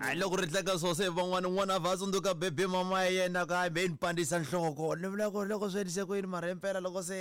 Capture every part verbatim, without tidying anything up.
Loko ri tlanga swo se van'wana n'wana va tsundzuka bebe mama ya yena ka hambe ni pandisa nhloko ni vula ku loko swi endlise ku yini mara himpela loko se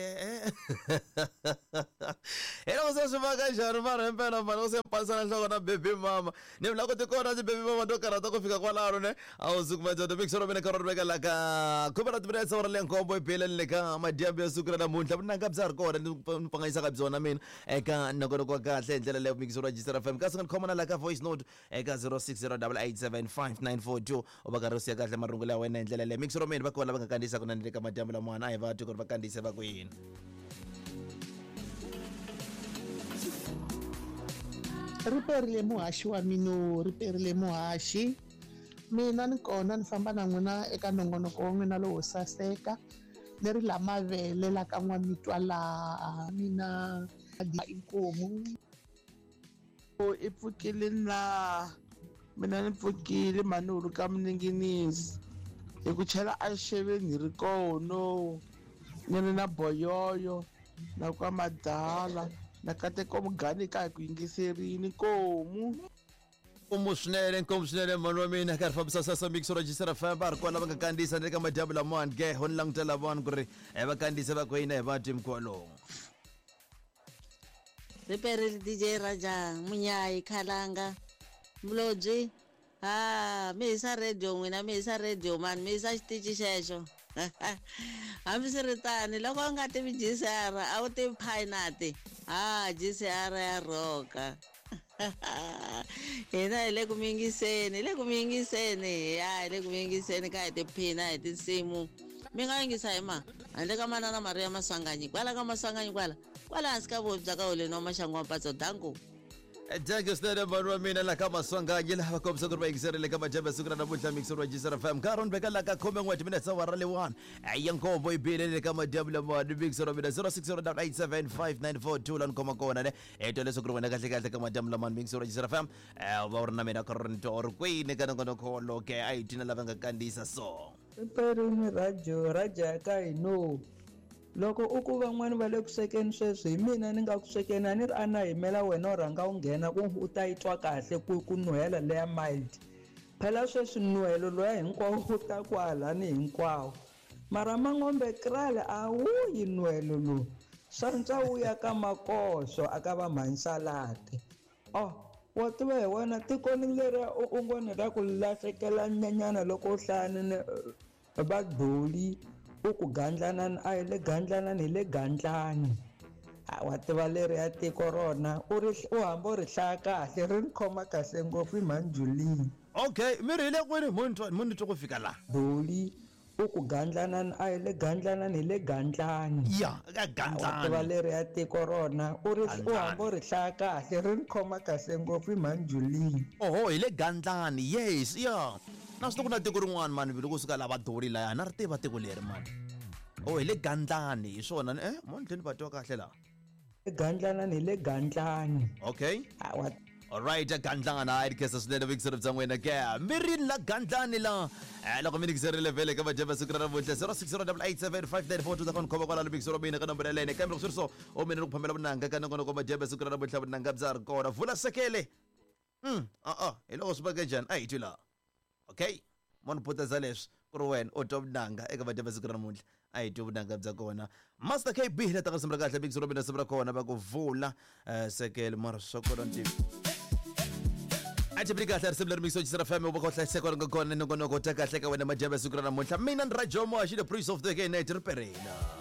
hi loko se swi va ka njhani mara himpela mara loko se pandisana nhloko na bebe mama ni vula ku ti kona ti-baby mama to karhata ku fika kwalano ne a wu suku madyondzo mixero mina ka ri veka la ka khume ra timinetse wa ra le nkombo ebeleni le ka madyambu ya siku ra namuntlha vunanga bya ri kona ni pfanganyisaka byona mina eka nongonoko wa kahle hi ndlela leyo mixero wa G C R F M kasi nga ni khoma na la ka voice note eka zero six zero eight eight seven five nine four two u va karhi u siya kahle marungulo ya wena hi ndlela leyo mixero mina va kona lava nga kandziyisaka na ni le ka madyambu lamwana a hi va twi ku ri va kandziyise va ku yini. Ri perile muhaxi wa mino, ri perile muhaxi. Mina ni kona ni famba na n'wina eka nongonoko wa n'wina lowo saseka ni ri la mavele la ka n'wamitwa laha mina inkomu. I pfukile na mina ni pfukile manulu ka muninginisi hi ku chela a xeveni hi ri kono ni ri na boyoyo na kwa madala na kateko mugani ka hi ku yingiserini nkomu. Nkomu swinene, nkomu swinene mhani wa mina karhi fambisa sasa mixo ra G C R F M va ri kwala va nga kandziyisa ni le ka madyambu lamawani ke ho ni langutela vanhu ku ri va kandziyisa va ku yini hi va timkwalomu. Riperile D J Raja Munyayi Khalanga Mulobyi ha mi hisa radio n'wina, mi hisa radio mani, mi hisa xitichi xexo. Hambiswiritano loko u nga tivi G C R a wu tivi Pinat ha G C R ya rhoka hina hi le ku mi yingiseni, hi le ku mi yingiseni ya hi le ku mi yingiseni ka hi tiphina hi tinsimu mi nga yingisa hi ma handle ka manana Maria Maswanganyi kwala ka Maswanganyi kwala kwala hansi ka vubi bya ka holeni wa maxangu wa mpatso danko. Thank swinene mhani wa mina la ka Maswanganyi laha va kombisa ku ri va yingiserile ka madyambu ya siku ra namuntlha mixero wa G C R F M nkarhi ni veka la ka khume n'we timinetse awara leyi-one ya nkombo yi bile le ka madyambu lamawani mixero wa mina zero six zero eight seven five nine four two la ni khoma kona ne hi twa leswaku ri wena kahle kahle ka madyambu lamawani mixero wa G C R F M va u ri na mina ka ri ni twa u ri kwini ka nongonoko woloke a hi twina lava nga kandziyisa so. Riperini radio raja ya ka hino loko u ku van'wani va le ku swekeni sweswi hi mina ni nga ku swekeni a ni ri a na yimela wena u rhanga u nghena ku u ta yi twa kahle ku ku nuhela leya mild phela sweswi nuhelo loya hinkwawo wu ta kwalani hinkwawo mara Mangombe krale a wu yi nuhelo lowu swantswa wu ya ka makoxo a ka va mhansalati oh wa tiva hi wena tikoni leriya u ngo ni ra ku lahlekela nyanyana loko u hlayani ni vadoli u ku gandlanani a hi le gandlanani hi le gandlani wa tiva leri ya tiko rona u ri u hamba u ri hlaya kahle ri ni khoma kahle ngopfu i mhani Julini. Okay, mi ri hi le kwini mo ni twa ku fika laha doli u ku gandlanani a hi le gandlanani hi le gandlani ya ka wa tiva gandlani leri ya tiko rona u ri u hamba u ri hlaya kahle ri ni khoma kahle ngopfu i mhani Julini. Oho, hi le gandlani, yes ya na swi ku na tiko rin'wana mani loko suka la vadoli laya na ri tiva tiko leri mani oh hi le gandlani hi swona eh mo ni tlhela ni va twa kahle laha. Gandlanani hi le gandlani okay wa Alright, gandlana hayi khensa swinene vuyingiseri bya n'wina ke mi rini la gandlani la eh loko mi ningiserile vhele ka madyambu siku ra namuntlha zero six zero eight seven five nine four two ta khoma kwalano vuyingiseri wa mina ka nomboro yalene kambe loko swi ri so o mina ni ku phamela vunanga ka nongonoko madyambu siku ra namuntlha vunanga bya ri kona vula sekele mm a a hi loko swi vake njhani a hi twi laha okay mo ni puteza leswi ku ri wena u twa vunanga eka madyambu siku ra namuntlha a hi twi vunanga bya kona Master K B la ta ka risimu ra kahle vuyingiseri wa mina risimu ra kona va ku vula sekele mara swa kona ni tivi a ti kahle risimu leri mixo G C R F M u va ka hlayiseka ri nga kona nongonoko ta kahle ka wena madyambu siku ra namuntlha mina ni Rajomo Axi the Prince of the Night ri perela.